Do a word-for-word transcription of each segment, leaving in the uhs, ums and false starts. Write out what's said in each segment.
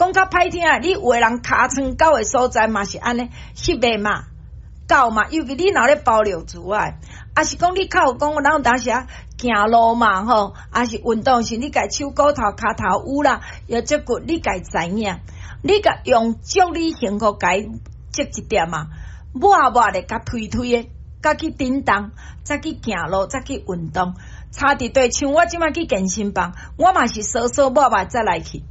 講較歹聽，你有的人尻川厚的所在嘛是按呢，翕的嘛，厚嘛，尤其你若咧包尿苴仔，抑是講你較有講，咱有當時啊行路嘛吼，抑是運動時，你共手骨頭、跤頭趺啦，腰脊骨，你家知影，你共用祝你幸福共擠一點啊，抹抹咧，共推推的，佮去振動，再去行路，再去運動。差佇對，像我這擺去健身房，我嘛是趖趖抹抹才來去。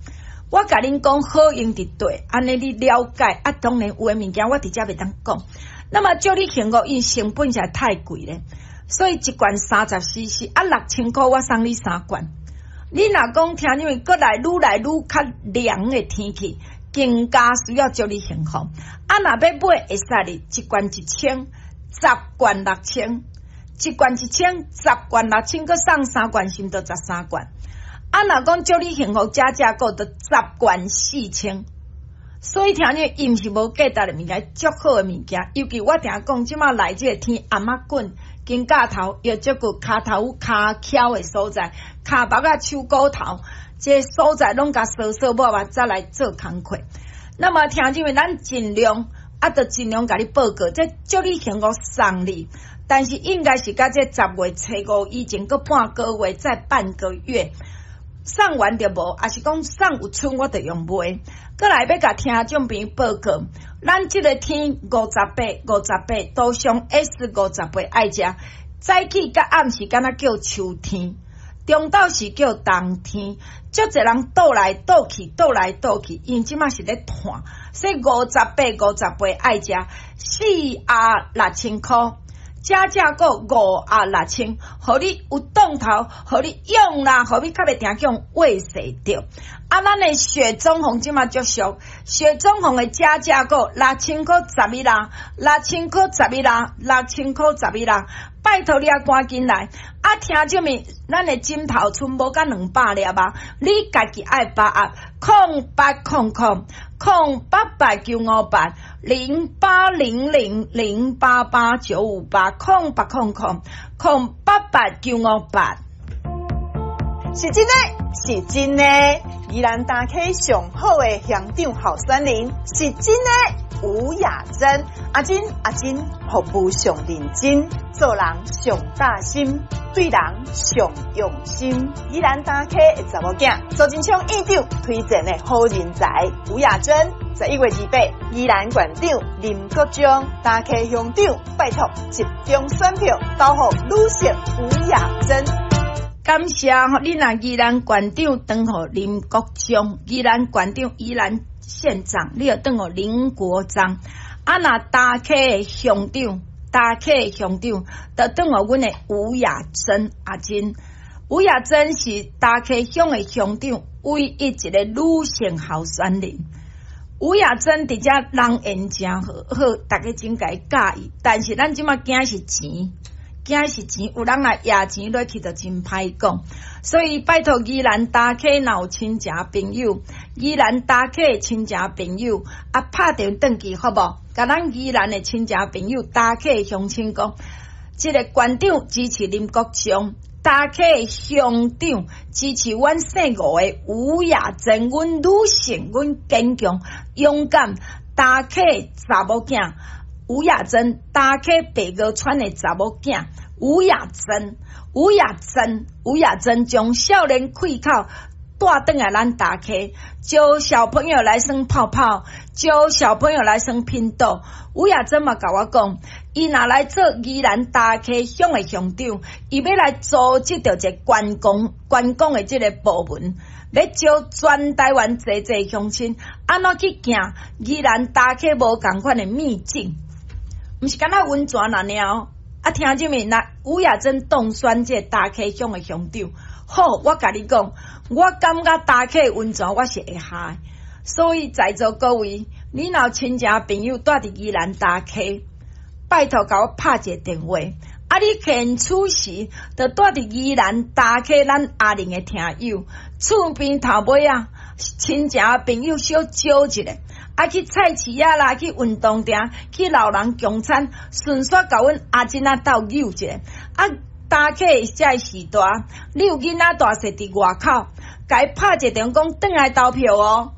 我共恁講好用佇佗，按呢你了解啊。當然有的物件我佇遮袂當講。那麼祝你幸福，因成本實在太貴咧，所以一罐三十 C C 啊，六千箍我送你三罐。你若講聽因為閣來愈來愈較涼的天氣，更加需要祝你幸福。啊，若要買會使哩，一罐一千，十罐六千，一罐一千，十罐六千，閣送三罐，是毋著十三罐？啊，若講祝你幸福加價購，著十罐四千。所以聽你，伊毋是無價值的物件，足好的物件。尤其我定講，這馬來這個天頷仔滾，肩胛頭、腰脊骨、跤頭跤翹的所在，跤目仔、手骨頭，這個所在攏共趖趖抹抹，才來做工課。那麼聽眾們，咱盡量啊，著盡量共你報告，這祝你幸福送你。但是應該是佮這十月初五以前，閣半個月，再半個月。送完就無，抑是講送有賰，我就用賣。閣來欲共聽眾朋友報告，咱這个天五十八、五十八，杜尚 S 五十八愛食。早起佮暗時敢若叫秋天，中晝是叫冬天。足濟人倒來倒去，倒來倒去，因這馬是咧嘆，所以五十八、五十八愛食四盒六千箍。加價購五盒六千，予你有當頭，予你用啦，予你較袂定用畏死著。啊，咱的雪中紅這馬足俗，雪中紅的加價購六千箍十一啦，六千箍十一啦，六千箍十一啦，拜託你啊，趕緊來！啊，聽這物，咱的枕頭賰無甲兩百粒啊，你家己愛把握，空八空空空八八九五八零八零零零八八九五八空八空空空八八九五八，是真的，是真的，宜蘭大溪上好的鄉長候選人是真的，吳雅珍，阿珍阿珍，服務上認真，做人上貼心，對人上用心。宜蘭大溪的查某囝，蘇貞昌院長推薦的好人才，吳雅珍，十一月二八，宜蘭縣長林國璋，大溪鄉長，拜託集中選票投予女性吳雅珍。感謝吼，你若宜蘭縣長轉予林國璋，宜蘭縣長宜蘭縣長，你著轉予林國璋。啊，若大溪的鄉長，大溪的鄉長，就轉予阮的吳雅珍阿珍。吳雅珍是大溪鄉的鄉長，唯一一個女性候選人。吳雅珍佇遮人緣誠好，好，逐家真共伊佮意。但是咱這馬驚是錢。驚是錢，有人來掖錢落去就真歹講，所以拜託宜蘭大溪若有親情朋友，宜蘭大溪的親情朋友啊，拍電話轉去好無？共咱宜蘭的親情朋友、大溪的鄉親講，這个縣長支持林國璋，大溪的鄉長支持阮姓吳的吳雅珍，阮女性，阮堅強勇敢，大溪查某囝。吳雅珍，大溪白鵝川的查某囝，吳雅珍，吳雅珍，吳雅珍將少年氣口帶轉來咱大溪，招小朋友來耍泡泡，招小朋友來耍拼桌。吳雅珍嘛共我講，伊若來做宜蘭大溪鄉的鄉長，伊欲來組織著一個觀光觀光的這个部門。欲招全台灣濟濟鄉親，按怎去行宜蘭大溪無仝款的秘境？毋是干焦溫泉爾爾哦，啊，聽這物，若吳雅珍當選這个大溪鄉的鄉長，好，我共你講，我感覺大溪溫泉我是會下的，所以在座各位，你若有親情朋友蹛佇宜蘭大溪，拜託共我拍一个電話，啊，你現此時就蹛佇宜蘭大溪咱阿玲的聽友，厝邊頭尾啊，親情朋友小招一下。啊，去菜市仔啦，去運動場，去老人共餐，順紲共阮阿珍仔鬥扭一下。啊，大溪這个時代，你有囡仔大細佇外口，共伊拍一個電話講轉來投票哦。